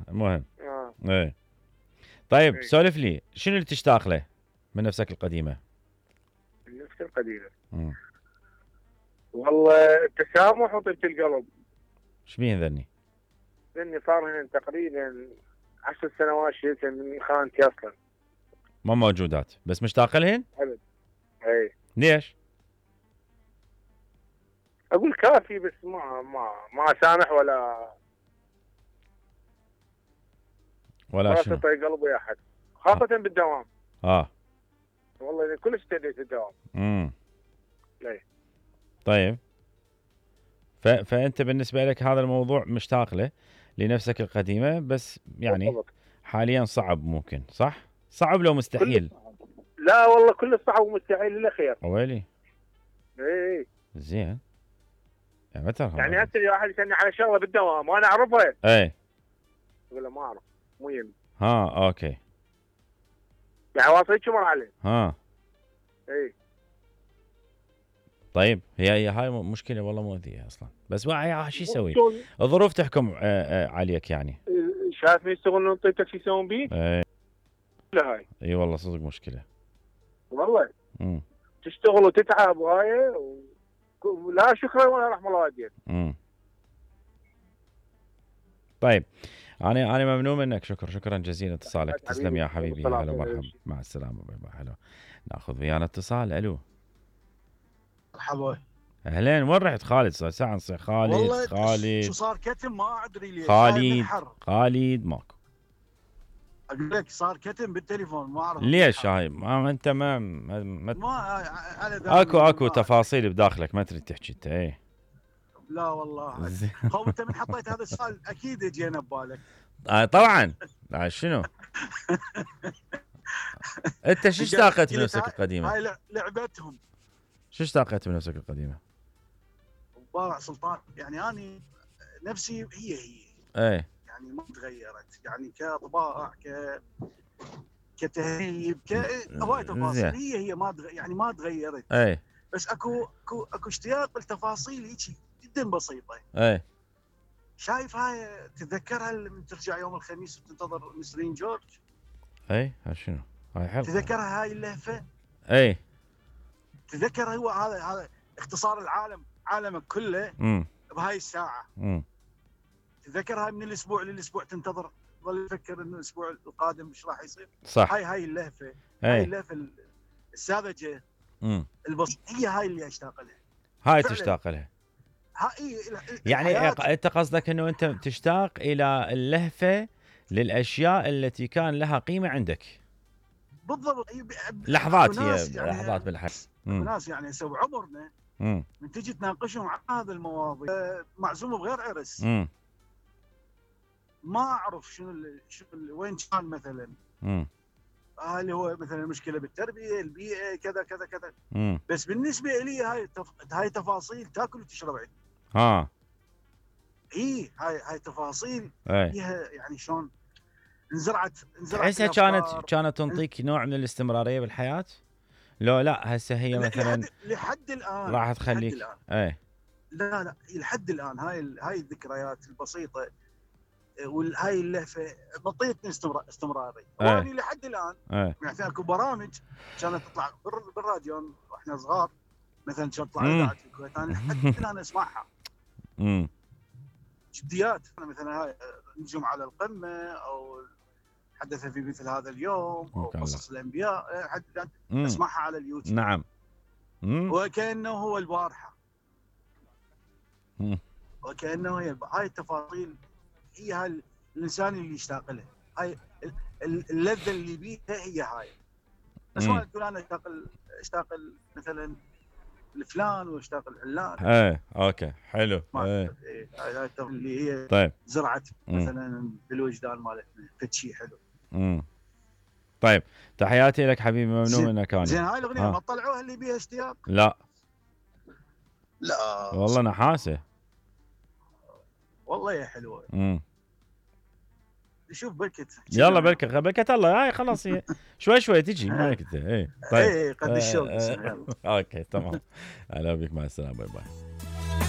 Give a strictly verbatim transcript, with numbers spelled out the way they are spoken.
المهم اه ايه طيب إيه. سولف لي شنو اللي تشتاق له من نفسك القديمه؟ النفس القديمة مم. والله التسامح وطيبة القلب، ايش بيه ذني؟ لاني صار هنا تقريبا عشر سنوات شلت من خانتي اصلا. ما موجودات بس مشتاق لهن؟ ابد. اي ليش؟ اقول كافي بس ما ما ما اسامح ولا ولا ولا شنو؟ تطيق قلب ويا احد، خاصة بالدوام. اه والله إني كلش ابتديت الدوام. امم اي طيب ف... فانت بالنسبه لك هذا الموضوع مشتاق له لنفسك القديمه بس يعني بالضبط. حاليا صعب ممكن صح؟ صعب لو مستحيل؟ لا والله كل صعب ومستحيل الا خير. ويلي اي زين يعني متى يعني هسه واحد يسالني على شغله بالدوام وانا اعرفها اي اقول له ما اعرف مو يمي. ها اوكي يعني واصل شو مر عليه. ها اي طيب هي هي هاي مشكله والله مؤذيه اصلا بس واحد شو يسوي؟ الظروف تحكم آه آه عليك يعني. شايف مين يشتغلون طيبتك شو يسوون بيك؟ اي لا هاي اي والله صدق مشكله والله. امم تشتغل وتتعب وهاي و... لا شكرا ولا رحم الله والديك. امم طيب انا انا ممنون منك شكرا شكرا جزيلا اتصالك تسلم يا حبيبي هلا ومرحبا مع السلامه باي باي. حلو ناخذ ويانا اتصال. الو مرحبا اهلين وين رحت خالد؟ صار ساعه نصير خالد والله خالد شو صار كتم ما ادري ليش خالد خالد ماكو. اقول لك صار كتم بالتليفون ما اعرف ليش هاي ما انت ما ما, ما, ما اكو اكو تفاصيل بداخلك ما تريد تحكي انت. ايه لا والله هو انت من حطيت هذا السؤال اكيد جينا ببالك. آه طبعا آه شنو انت شو اشتاقت من نفسك القديمه؟ هاي لعبتهم. شو اشتاقت من نفسك القديمه؟ مبارع سلطان يعني اني نفسي هي هي ايه يعني ما تغيرت يعني كطباع ك كتهذيب ك هواي تفاصيل هي هي ما دغ... يعني ما تغيرت. ايه بس اكو اكو اكو اشتياق لتفاصيل هيك جدا بسيطه. ايه شايف هاي تتذكرها لما ترجع يوم الخميس وتنتظر نسرين جورج؟ ايه ها شنو هاي حلقه تذكرها هاي اللهفه؟ ايه تذكر هو هذا هذا اختصار العالم عالمك كله امم بهاي الساعه. امم تذكر هاي من الاسبوع للاسبوع تنتظر ظل تفكر انه الاسبوع القادم ايش راح يصير. صح هاي هاي اللهفه ايه. هاي اللهفه الساذجه امم البسيطه هي هاي اللي اشتاق لها. هاي تشتاق لها هاي يعني انت قصدك انه انت تشتاق الى اللهفه للاشياء التي كان لها قيمه عندك. بالضبط لحظات هي يعني لحظات بالحياه. ناس يعني سو عمرنا امم من تجي تناقشهم عن هذا المواضيع معزومه بغير عرس امم ما اعرف شنو اللي شنو اللي وين كان مثلا امم هل هو مثلا مشكله بالتربيه البيئه كذا كذا كذا. امم بس بالنسبه لي هاي تف... هاي تفاصيل تاكل وتشرب عندي. ها اي هاي هاي تفاصيل ايه. فيها يعني شلون انزرعت انزرعت تحسها كانت كانت تنطيك نوع من الاستمراريه بالحياه؟ لو لا هسه هي مثلا لحد, لحد الان راح تخليك الآن. ايه لا لا لحد الان هاي ال... هاي الذكريات البسيطه وهاي اللهفه منطيتني استمرار استمراري. ايه. وانا لحد الان ايه. يعني اكو برامج كانت تطلع بالراديو واحنا صغار مثلا كانت تطلع مم. اذاعه الكويت انا لحد الان اسمعها. امم جديات مثلا هاي نجوم على القمه او حدث في مثل هذا اليوم او قصص الانبياء حد اسمعها على اليوتيوب. نعم مم. وكانه هو البارحه مم. وكانه هي هاي التفاصيل هي هاي الانسان اللي يشتاق لها. هاي اللذه اللي بيها هي هاي. بس ما تقول انا اشتاق اشتاق مثلا الفلان واشتاق العلان. ايه اوكي حلو. ايه هاي اللي هي طيب زرعت مثلا بالوجدان مالتنا فد شيء حلو. امم طيب تحياتي لك حبيبي ممنون منك انا. زين هاي الاغنيه ما طلعوها اللي بيها اشتياق؟ لا لا والله نحاسه والله يا حلوه. امم شوف بركت يلا بركه بركه الله هاي خلاص هي شوي شوي تجي ما كنت ايه. طيب ايه قد الشوق. اوكي تمام. اهلا بك مع السلامه باي باي.